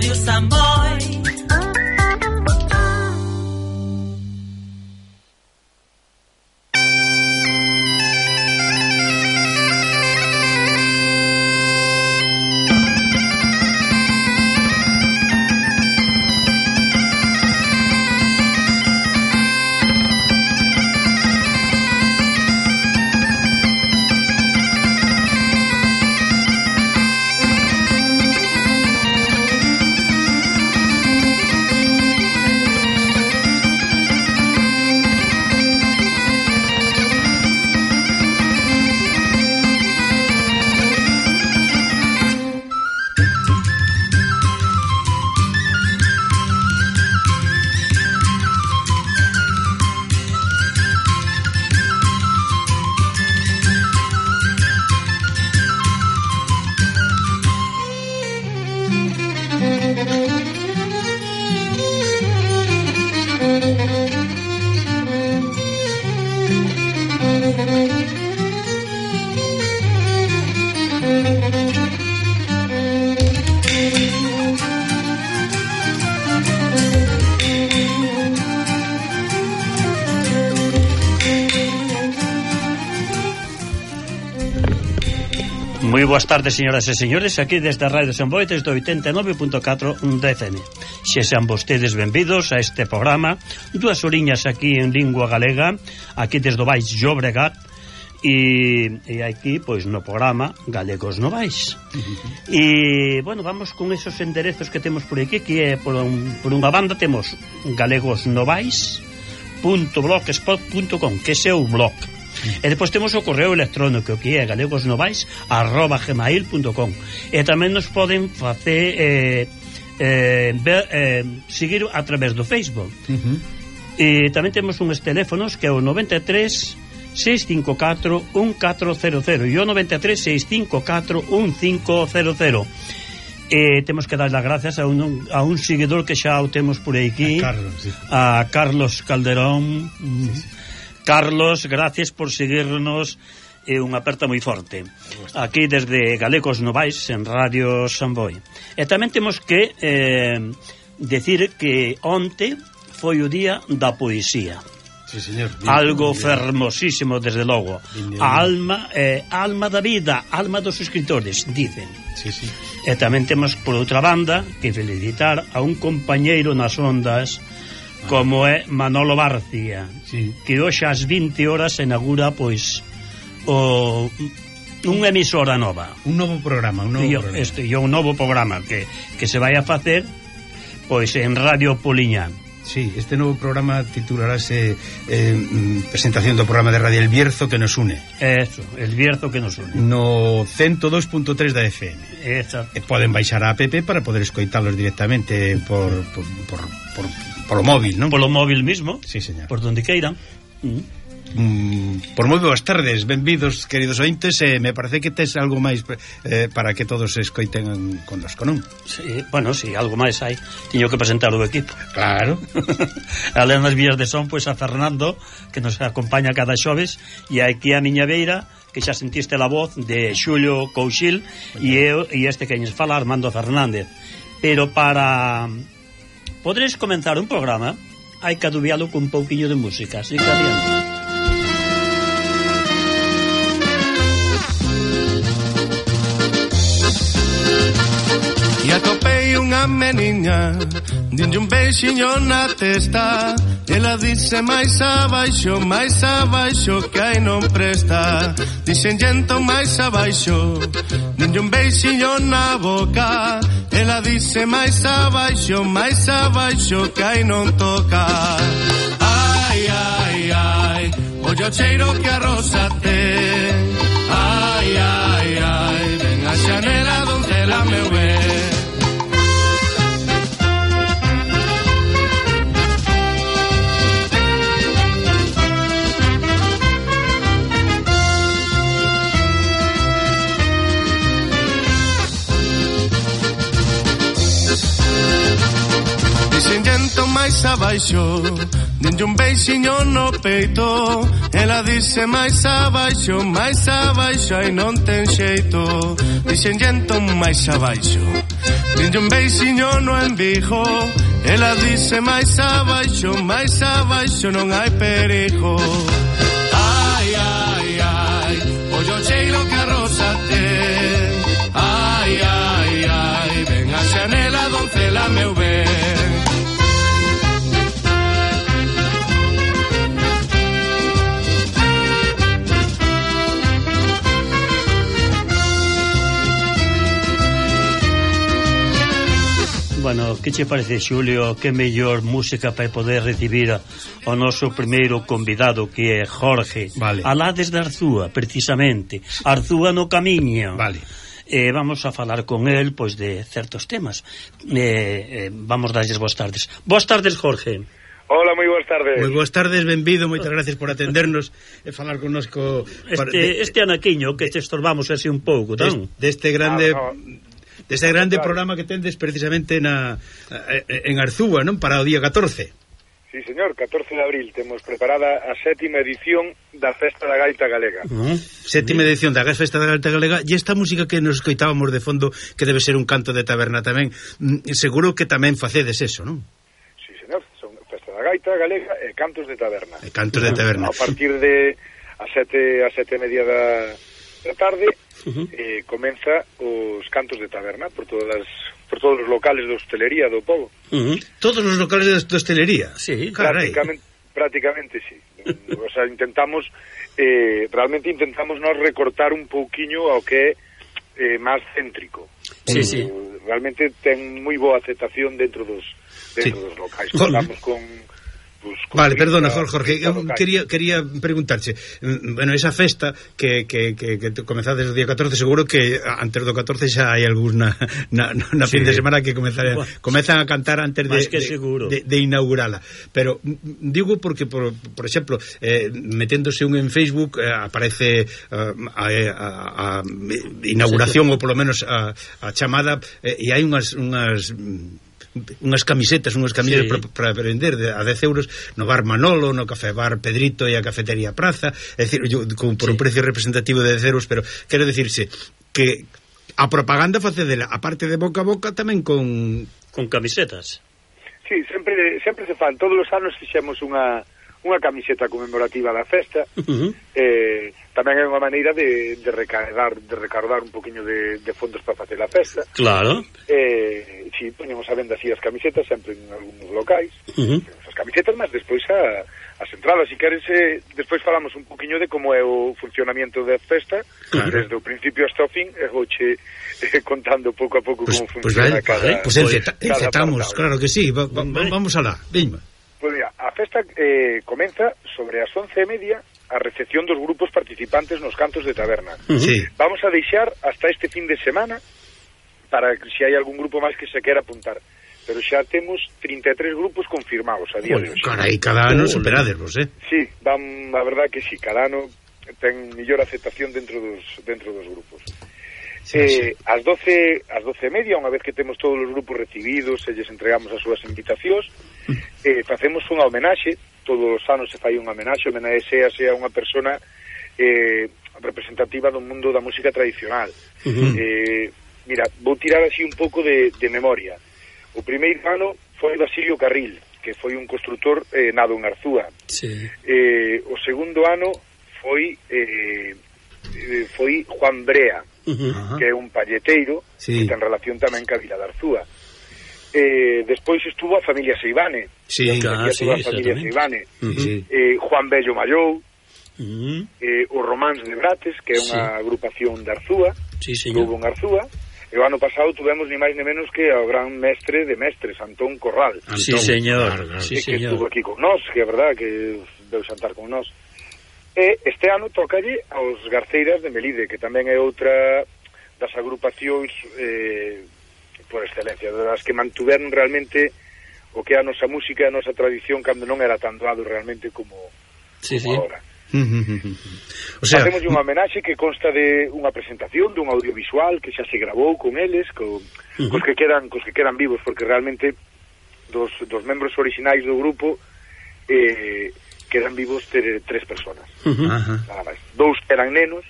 Radio Samboy. Moi boas tardes, señoras e señores, aquí desde Radio Samboy, desde 89.4 da FM. Se sean vostedes benvidos a este programa, 2 horiñas aquí en lingua galega, aquí desde o Baix Llobregat, e aquí, pois, no programa Galegos Novais. E, bueno, vamos con esos enderezos que temos por aquí, que é, por unha banda, temos galegosnovais.blogspot.com, que ese é o blog. E depois temos o correo electrónico, que é galegosnovais@gmail.com, e tamén nos poden facer seguir a través do Facebook. E tamén temos uns teléfonos, que é o 93 654 1400 e o 93 654 1500. E temos que dar as gracias a un seguidor que xa o temos por aquí, a Carlos Calderón. Carlos, gracias por seguirnos, e unha aperta moi forte aquí desde Galegos Novais en Radio Samboy. E tamén temos que decir que onte foi o día da poesía. Sí, señor. Algo fermosísimo, desde logo. A alma da vida, alma dos escritores, dicen. Sí, sí. E tamén temos, por outra banda, que felicitar a un compañeiro nas ondas, como é Manolo Barcia, sí, que hoxe ás 20 horas se inaugura, pois, unha emisora nova, un novo programa, un novo programa que se vai a facer, pois, en Radio Poliñán. Sí, este novo programa titularase presentación do programa de Radio El Bierzo que nos une. Eso, El Bierzo que nos une. No 102.3 da FM. Exacto. E poden baixar a app para poder escoitalos directamente polo móvil, non? Polo móvil mismo. Sí, señor. Por donde queiran. Por moi boas tardes, benvidos, queridos ointes. Me parece que tes algo máis para que todos se escoiten connosco, non? Sí, bueno, sí, algo máis hai. Tiño que presentar o equipo. Claro. Alén das vías de son, pois, a Fernando, que nos acompaña cada xoves, e aquí a miña beira, que xa sentiste a voz de Xulio Couchil, e este que nos fala, Armando Fernández. Pero para poderes comenzar un programa, hai que adubialo con un pouquiño de música, así que adiante. E atopei unha meniña, dinlle un beixiño na testa. Ela dice máis abaixo, que aí non presta. Dixen entón máis abaixo, dinlle un beixiño na boca. Ela dice máis abaixo, que aí non toca. Ai, ai, ai, oye o cheiro que a rosa ten. Ai, ai, ai, ven a xanela donde la me ve. Dixen entón máis abaixo, denlle un beixiño no peito. Ela dice máis abaixo, ai non ten xeito. Dixenlle entón máis abaixo, denlle un beixiño no embigo. Ela dice máis abaixo, non hai perigo. Ai, ai, ai, ollo cheiro que a rosa ten. Ai, ai, ai, ven a xanela, doncela, meu ben. Bueno, que che parece, Xulio, que mellor música para poder recibir ao noso primeiro convidado, que é Jorge, vale. Alá desde Arzúa, precisamente, Arzúa no camiño. Vale. Vamos a falar con él, pois, de certos temas. Vamos darlles boas tardes. Boas tardes, Jorge. Hola, moi boas tardes. Moi boas tardes, benvido, moitas gracias por atendernos e falar connosco. Este anaquiño que te estorbamos así un pouco, non? Deste grande... Deste grande programa que tendes precisamente en Arzúa, non? Para o día 14. Sí, señor, 14 de abril temos preparada a 7ª edición da Festa da Gaita Galega. Sétima edición da Festa da Gaita Galega. E esta música que nos escoitábamos de fondo, que debe ser un canto de taberna tamén, seguro que tamén facedes eso, non? Sí, señor, son Festa da Gaita Galega e cantos de taberna. E cantos de taberna. A partir de a 7:30 da tarde comeza os cantos de taberna por todos os locales de hostelería do pobo. Todos os locales de hostelería? Sí, carai. Prácticamente sí. O sea, realmente intentamos nos recortar un pouquiño ao que é máis céntrico. Sí, sí. Realmente ten moi boa aceptación dentro dos locais. Contamos con vale, perdona, Jorge, quería preguntarche, bueno, esa festa que comezades o día 14, seguro que antes do 14 xa hai algúns na fin de semana que comezan a cantar antes de inaugurala, pero digo porque, por exemplo, meténdose un en Facebook, aparece a inauguración, ou polo menos a chamada, e hai unhas camisetas, unhas camillas para vender a 10 euros no bar Manolo, no café bar Pedrito e a cafetería Praza, é dicir, por un precio representativo de 10 euros, pero quero dicirse que a propaganda facedela, a parte de boca a boca, tamén con camisetas. Sí, sempre se fan, todos os anos fixemos unha camiseta conmemorativa da festa. Tamén é unha maneira de recaudar un poquinho de fondos para facer a festa. Claro. Si poñemos a venda así as camisetas sempre en algúns locais. As camisetas, mas despois as entradas, se queres, despois falamos un poquinho de como é o funcionamento da festa, desde o principio hasta o fin, e vouche contando pouco a pouco como funciona cada encetamos, claro que sí, vamos alá, veña. Pois mira, a festa comeza sobre as 11:30 a recepción dos grupos participantes nos cantos de taberna. Sí. Vamos a deixar hasta este fin de semana para que se hai algún grupo máis que se quera apuntar. Pero xa temos 33 grupos confirmados a día de hoxe. Carai, cada ano superadesvos, Sí, a verdad que sí, cada ano ten mellor aceptación dentro dos grupos. Ás 12:30, unha vez que temos todos os grupos recibidos e lles entregamos as súas invitacións, facemos unha homenaxe. Todos os anos se fai unha homenaxe a unha persona representativa do mundo da música tradicional. Mira, vou tirar así un pouco de memoria. O primeiro ano foi Basilio Carril, que foi un constructor nado en Arzúa. O segundo ano foi Juan Brea, que é un palleteiro que ten relación tamén ca Vila de Arzúa. Despois estuvo a familia Seivane, Juan Bello Mallou, o Románs de Brates, que é unha agrupación de Arzúa, estuvo en Arzúa. E o ano pasado tuvemos ni máis ni menos que ao gran mestre de mestres, Antón Corral. Sí, señor. Que estuvo aquí con nós, que é verdad que deu xantar con nós. E este ano tócalle aos Garceiras de Melide, que tamén é outra das agrupacións por excelencia, das que mantuveron realmente o que é a nosa música e a nosa tradición cando non era tan doado realmente como agora. O sea, facemos unha homenaxe que consta de unha presentación dun audiovisual que xa se grabou con eles, cos que quedan vivos, porque realmente dos membros orixinais do grupo quedan vivos 3 personas. Nada máis. 2 eran nenos,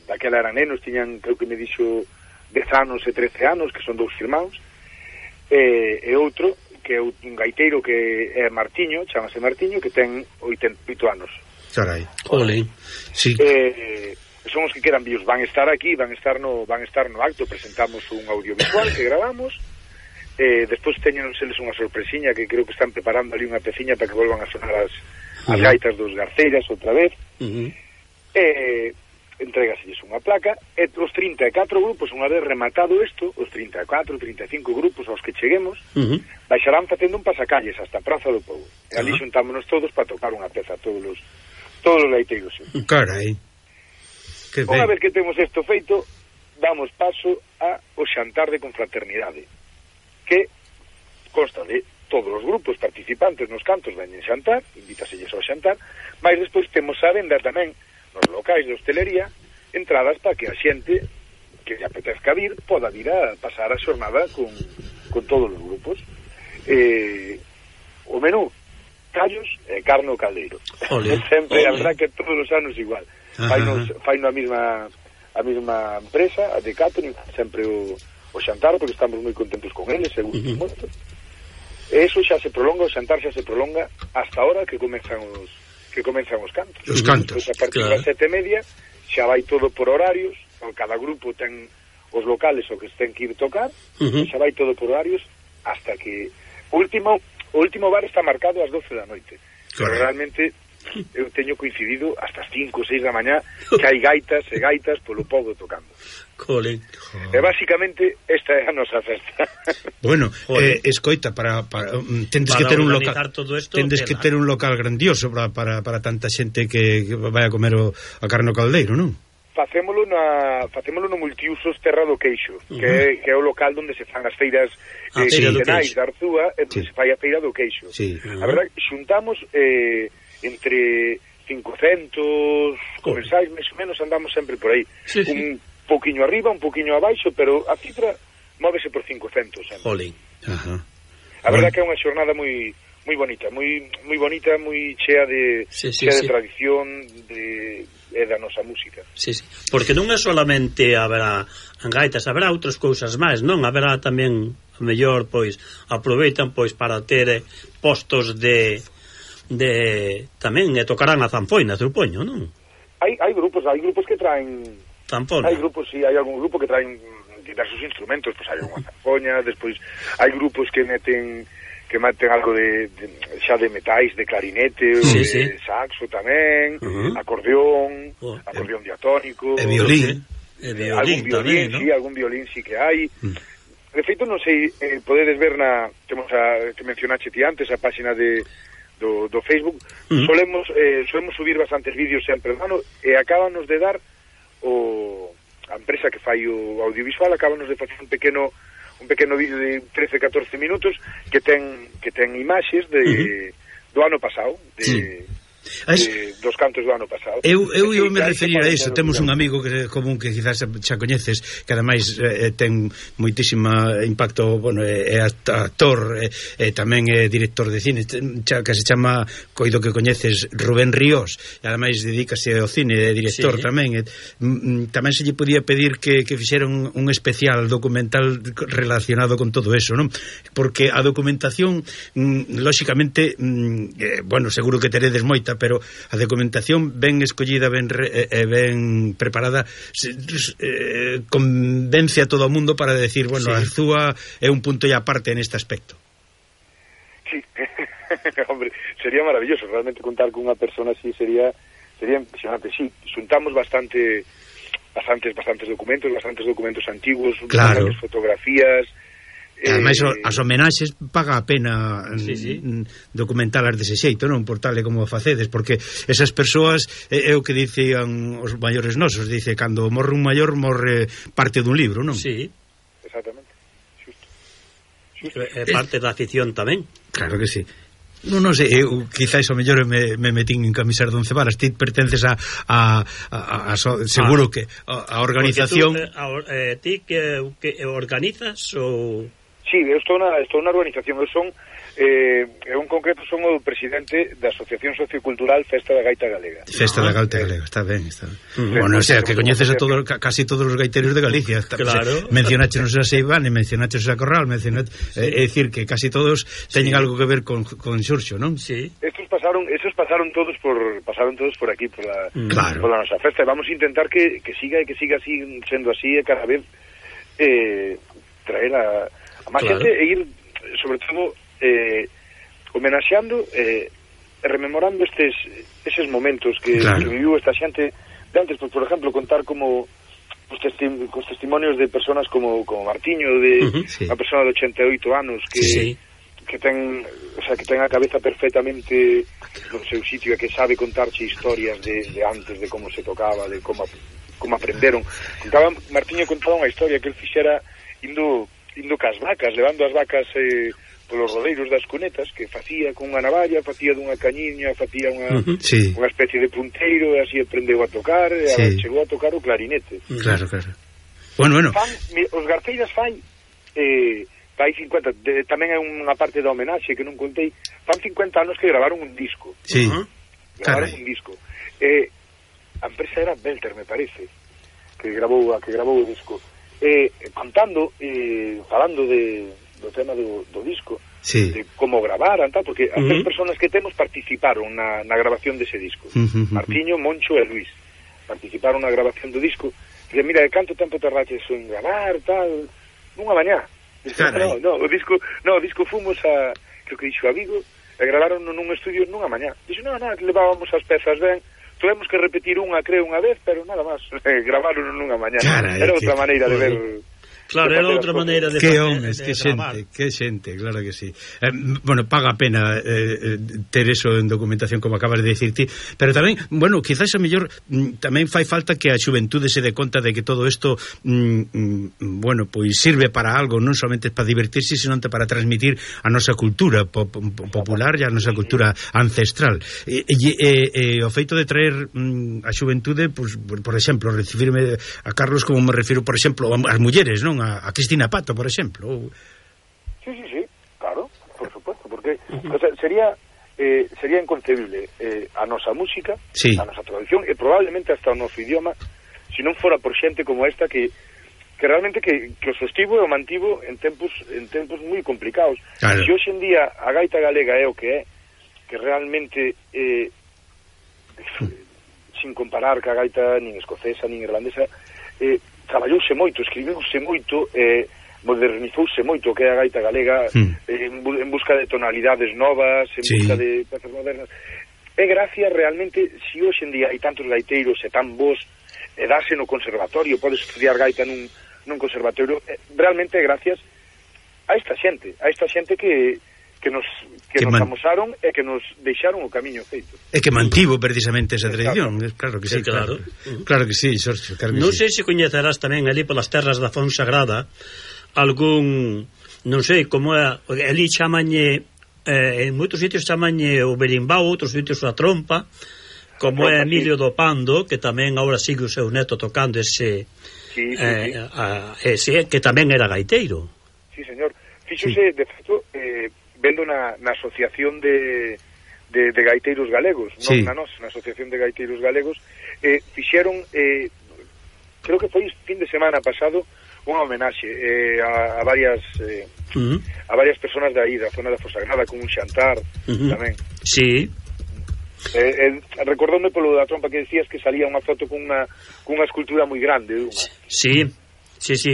daquela eran nenos, tiñan, creo que me dixo 10 anos e 13 anos, que son 2 irmáns, e outro que é un gaiteiro que é Martiño, chamase Martiño, que ten 88 anos. Carai. Ole. Sí. Son os que quedan vivos, van estar aquí, van estar no acto, presentamos un audiovisual que gravamos. Despois teñen eles unha sorpresiña que creo que están preparando ali unha peciña para que volvan a sonar as gaitas dos Garceiras outra vez. Entrégaselles unha placa e os 34 grupos, unha vez rematado isto, os 34, 35 grupos aos que cheguemos, baixarán facendo un pasacalles hasta a Praza do Pobo. E ali xuntámonos todos para tocar unha peza, todos os gaiteiros. Carai. Unha vez que temos isto feito, damos paso ao xantar de confraternidade, que consta de todos os grupos participantes nos cantos veñen xantar, invítaselles ao xantar, mas despois temos a venda tamén nos locais de hostelería entradas para que a xente que lle apetezca vir poda vir a pasar a xornada con todos os grupos. O menú, callos e carne ao caldeiro. Sempre, a verdad que todos os anos igual. Faino a mesma empresa, a de catering, sempre o xantar, porque estamos moi contentos con eles, e gustos moito. E eso xa se prolonga, o xantar xa se prolonga hasta a hora que comenzan os cantos. Os cantos. Pois a partir das 7:30 xa vai todo por horarios, cada grupo ten os locales o que ten que ir tocar, xa vai todo por horarios hasta que o último bar está marcado ás 12 da noite. Pero realmente eu teño coincidido hasta as 5 ou 6 da mañá que hai gaitas e gaitas polo pobo tocando. Colin. E basicamente esta é a nosa festa. Bueno, escoita, para tendes que ter un local, tendes que ter un local grandioso para tanta xente que vai a comer a carne ao caldeiro, non? Facémolo no Multiusos Terra do Queixo, que é o local onde se fan as feiras quincenais da Arzúa, e onde se fai a feira do queixo. A verdade, xuntamos entre 500 comensais, máis ou menos, andamos sempre por aí. Un pouquiño arriba, un pouquiño abaixo, pero a cifra móvese por 500 sempre. A verdade que é unha xornada moi bonita, moi bonita, moi chea de tradición e da nosa música. Porque non é solamente haberá gaitas, haberá outras cousas máis, non? Haberá tamén, a mellor, pois, aproveitan pois para ter postos de tamén tocarán a zanfoina, supoño, non? Hai grupos que traen zanfona. Hai grupos, hai algún grupo que traen diversos instrumentos, pois hai unha zanfoña, despois hai grupos que meten algo de xa de metais, de clarinete, de saxo tamén, acordeón diatónico, e violín. Algún violín, ¿no? Sí, algún violín sí que hai. De feito, non sei, podedes ver temos que mencionaste ti antes, a páxina do Facebook, solemos subir bastantes vídeos sempre, hermano, e acábanos de dar a empresa que fai o audiovisual, acábanos de facer un pequeno vídeo de 13-14 minutos que ten imaxes do ano pasado, dos cantos do ano pasado. Eu me referir a iso. Temos un amigo común que quizás xa coñeces, que ademais ten moitísima impacto, bueno, é actor, tamén é director de cine, que se chama, coido que coñeces, Rubén Ríos, e ademais dedícase ao cine, é director tamén. Tamén se lle podía pedir que fixeran un especial documental relacionado con todo eso, non? Porque a documentación, lóxicamente, bueno, seguro que teredes moita, pero a documentación ben escollida, ben preparada, convence a todo o mundo para decir, bueno, Arzúa é un punto e aparte en este aspecto. Sí, hombre, sería maravilloso realmente contar con unha persona así, sería impresionante. Sí, xuntamos bastantes documentos antiguos, bastantes fotografías. Ademais, as homenaxes paga a pena documentalas dese xeito, non? Por tal e como facedes, porque esas persoas é o que dicían os maiores nosos, dice, cando morre un maior, morre parte dun libro, non? Sí, exactamente, xusto. É parte da afición tamén. Claro que sí. Non sei, eu quizáis ao mellor me metín en camisar de 11 varas. Ti pertences a seguro que a organización. Ti que organizas ou... Sí, eu estou na organización, eu son en concreto son o presidente da Asociación Sociocultural Festa da Gaita Galega. Festa da Gaita Galega, está ben, está ben. Bueno, o sea, que coñeces a casi todos os gaiteros de Galicia. Claro. Mencionáchenos a Seivane, mencionáchenos a Corral, é dicir que casi todos teñen algo que ver con Xurxo, non? Sí. Esos pasaron todos por aquí, por la nosa festa, e vamos a intentar que siga así, sendo así, e cada vez traer a máis xente e ir, sobre todo, homenaxeando e rememorando eses momentos que viviu esta xente de antes, pues, por exemplo, contar como cos testimonios de personas como Martiño, de unha persona de 88 anos que ten a cabeza perfectamente no seu sitio e que sabe contarche historias de antes, de como se tocaba, de como aprenderon. Martiño contaba unha historia que el fixera indo cas vacas, levando as vacas polos rodeiros das cunetas, que facía con unha navalla, facía dunha cañiña, facía unha especie de punteiro, e así aprendeu a tocar, e chegou a tocar o clarinete. Claro. Bueno. Os garceiras fai 50, tamén é unha parte da homenaxe que non contei, fan 50 anos que gravaron un disco. Sí. Gravaron un disco. A empresa era Belter, me parece, que gravou o disco. Contando, falando do tema do disco, de como gravaran, tal, porque as tres personas que temos participaron na grabación dese disco. Martiño, Moncho e Luis participaron na grabación do disco. E mira, canto tempo tardaches en gravar, tal, nunha mañá. O disco fomos a, creo que dixo a Vigo, e gravaron nun estudio nunha mañá. Dixo, nada, levábamos as pezas ben, tuvemos que repetir unha vez, pero nada máis, gravaron nunha mañá. Era outra maneira de ver... Claro, era outra maneira de que homes, que xente, claro que sí. Bueno, paga a pena ter eso en documentación, como acabas de dicir ti, pero tamén, bueno, quizás a mellor tamén fai falta que a xuventude se dé conta de que todo isto bueno, pois sirve para algo, non somente para divertirse, sino para transmitir a nosa cultura popular e a nosa cultura ancestral. E o feito de traer a xuventude, pois, por exemplo, recibirme a Carlos como me refiro, por exemplo, as mulleres, non? A Cristina Pato, por exemplo. Sí, claro, por supuesto, porque o sea, sería inconcebible a nosa música, a nosa tradición e probablemente hasta o noso idioma se non fora por xente como esta que realmente que o sostivo e o mantivo en tempos moi complicados. Se hoxe en día a gaita galega é o que é, que realmente sin comparar ca gaita nin escocesa nin irlandesa, traballouse moito, escribiuse moito, modernizouse moito que é a gaita galega, en busca de tonalidades novas, en busca de pezas modernas. É gracia realmente, se hoxe en día hai tantos gaiteiros e tan bons, e dase no conservatorio, podes estudiar gaita nun conservatorio, realmente é gracias a esta xente que nos amosaron e que nos deixaron o camiño feito. E que mantivo precisamente esa tradición. Claro que sí, claro. Claro que sí, Xorxo. Non sei se coñecerás tamén ali polas terras da Fonsagrada algún, non sei como é, ali chamañe, en moitos sitios chamañe o berimbau, outros sitios a trompa, como é Emilio do Pando, que tamén agora sigue o seu neto tocando ese que tamén era gaiteiro. Sí, señor. Fíxose, de feito, vendo na Asociación de Gaiteiros Galegos, non na nosa, na Asociación de Gaiteiros Galegos, fixeron, creo que foi fin de semana pasado, unha homenaxe a varias personas de aí, da zona da Fonsagrada, con un xantar tamén. Sí. Recordoume polo da trompa que decías que salía unha foto con unha escultura moi grande. Sí,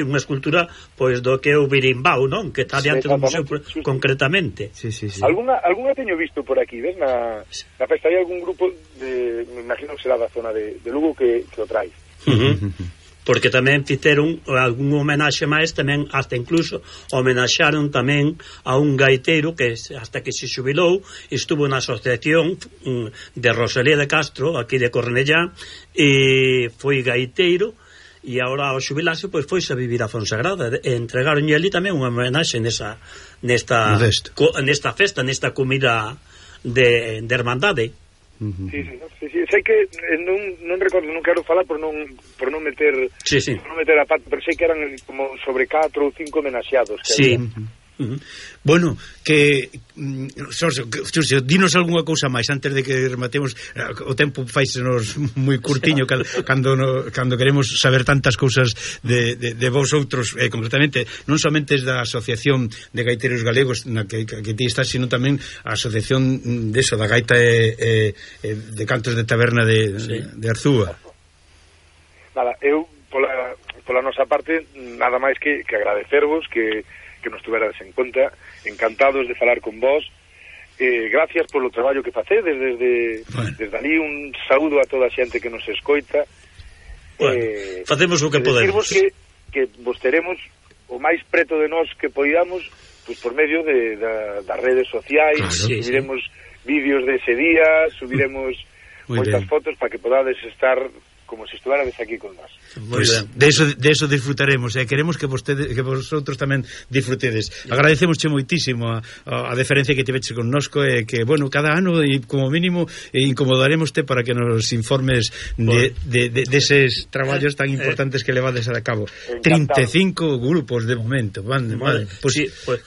unha escultura pois do que é o berimbau, non? Que está diante do museo concretamente. Sí. Algunha teño visto por aquí, ves? Na festa hai algún grupo me imagino que será da zona de Lugo que o trae. Porque tamén fixeron algún homenaxe máis, tamén hasta incluso homenaxaron tamén a un gaiteiro que hasta que se xubilou estuvo na asociación de Rosalía de Castro aquí de Cornellá, e foi gaiteiro, e agora ao xubilarse pois foise a vivir a Fonsagrada, e entregaronlle ali tamén unha homenaxe nesta festa, nesta comida de hermandade. Sí, sei que non recordo, non quero falar por non meter a pata, pero sei que eran como sobre 4 ou 5 homenaxeados que Bueno, que Xurxo, dinos algunha cousa máis antes de que rematemos. O tempo faisenos moi curtiño cando queremos saber tantas cousas de vos outros, concretamente non somente da Asociación de Gaiteros Galegos na que ti estás, sino tamén a Asociación deso, da Gaita de Cantos de Taberna de Arzúa. Nada, eu pola nosa parte nada máis que agradecervos que nos tuverades en conta, encantados de falar con vos, gracias polo traballo que facedes desde ali, un saúdo a toda a xente que nos escoita. Facemos o que podemos, que vos teremos o máis preto de nós que poidamos, pues por medio das redes sociais, claro, subiremos vídeos de ese día, subiremos moitas fotos para que podades estar como se estuvérades aquí con nós. Pues de eso disfrutaremos, queremos que vosotros tamén disfrutedes. Agradecemosche moitísimo a deferencia que tiveches connosco, que, bueno, cada ano e como mínimo incomodaremoste para que nos informes deses traballos tan importantes que levades a cabo. Encantado. 35 grupos de momento. Vale. Pues, sí, pues,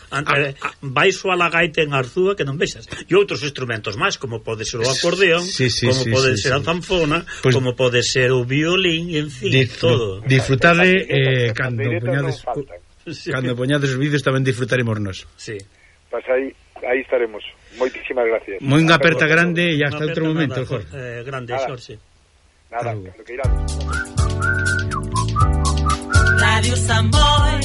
vais a la gaita en Arzúa que non vexas. E outros instrumentos máis, como pode ser o acordeón, como pode ser a zanfona, como pode ser o violín, en fin, todo. Disfrutade cando poñades os vídeos tamén disfrutaremos nós. Sí. Pues aí estaremos. Moitísimas gracias. Moi unha aperta grande e hasta outro momento, Jorge. Grande, Xorxe. Nada, cando que irades. Radio Samboy.